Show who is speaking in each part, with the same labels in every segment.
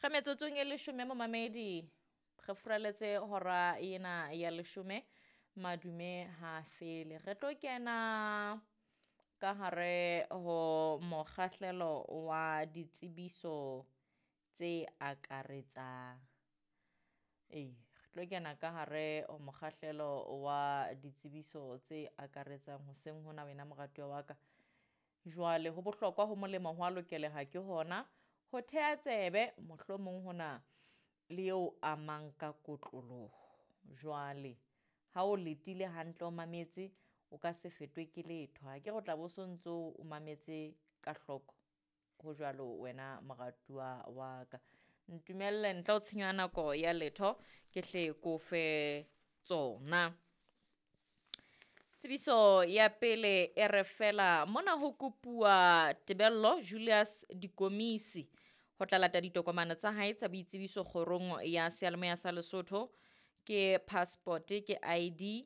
Speaker 1: Re metsotsong e leshome momamedi, re furaletse hora ena ya leshome, madume ha fele. Re tlo kena ka hare ho mokgahlelo wa ditsebiso tse akaretsang. Ee, re tlo kena ka hare ho mokgahlelo wa ditsebiso tse akaretsang hoseng hona wena moratuwa wa ka. Jwale ho bohlokwa ho molemo ho a lokeleha ke hona ho theha tsebe mohlomong hona le eo amang ka kotloloho. Jwale ha o letile hantle o mametse o ka se fetwe ke letho. Ha ke re o tla bo so ntso o mametse ka hloko. Ho jwalo wena moratuwa wa ka. Ntumelle ntle ho tshenyo ya nako ya letho ke hle ke o fe tsona. Tsebiso ya pele e re fela mona ho kopuwa Tebello Julius Dikomisi ho tla lata ditokomane tsa hae tsa boitsebiso kgorong ya seyalemoya sa Lesotho. Ke passport, ke ID,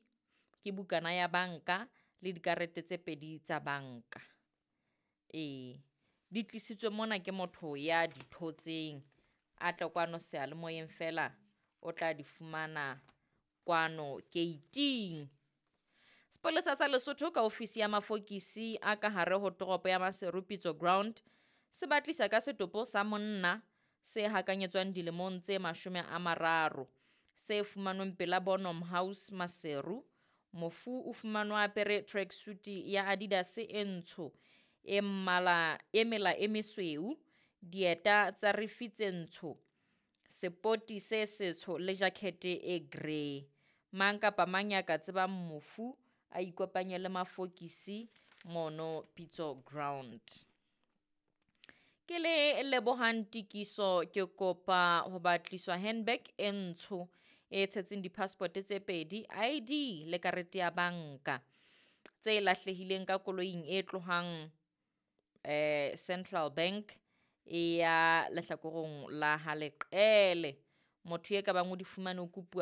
Speaker 1: ke bukana ya banka le dikarete tse pedi tsa banka. Ee, di tlisitswe mona ke motho ya di thotseng, a tle kwano seyalemoyeng fela o tla di fumana kwano gate-ing. Sepolesa sa Lesotho ka ofisi ya mafokisi a ka hare ho toropo ya Maseru Pitso Ground se batlisa ka setopo sa monna se hakanyetswang dilemong tse 30 se fumanweng pela Bonham House Maseru. Mofu o fumanwa a apere tracksuit ya Adidas e ntsho e mmala e mela e mesweu, dieta tsa rifi tse ntsho, sepoti se setsho le jacket e grey. Mang kapa mang ya ka tsebang mofu a ikopanye le mafokisi mono Pitso Ground. Ke le lebohang tikiso ke kopa ho batliswa handbag e ntsho e tshetseng di-passport tse pedi, ID le karete ya banka tse lahlehileng ka koloing e tlohang Central Bank e ya lehlakoreng la ha Leqele. Motho e ka bang o di fumane o kopuwa.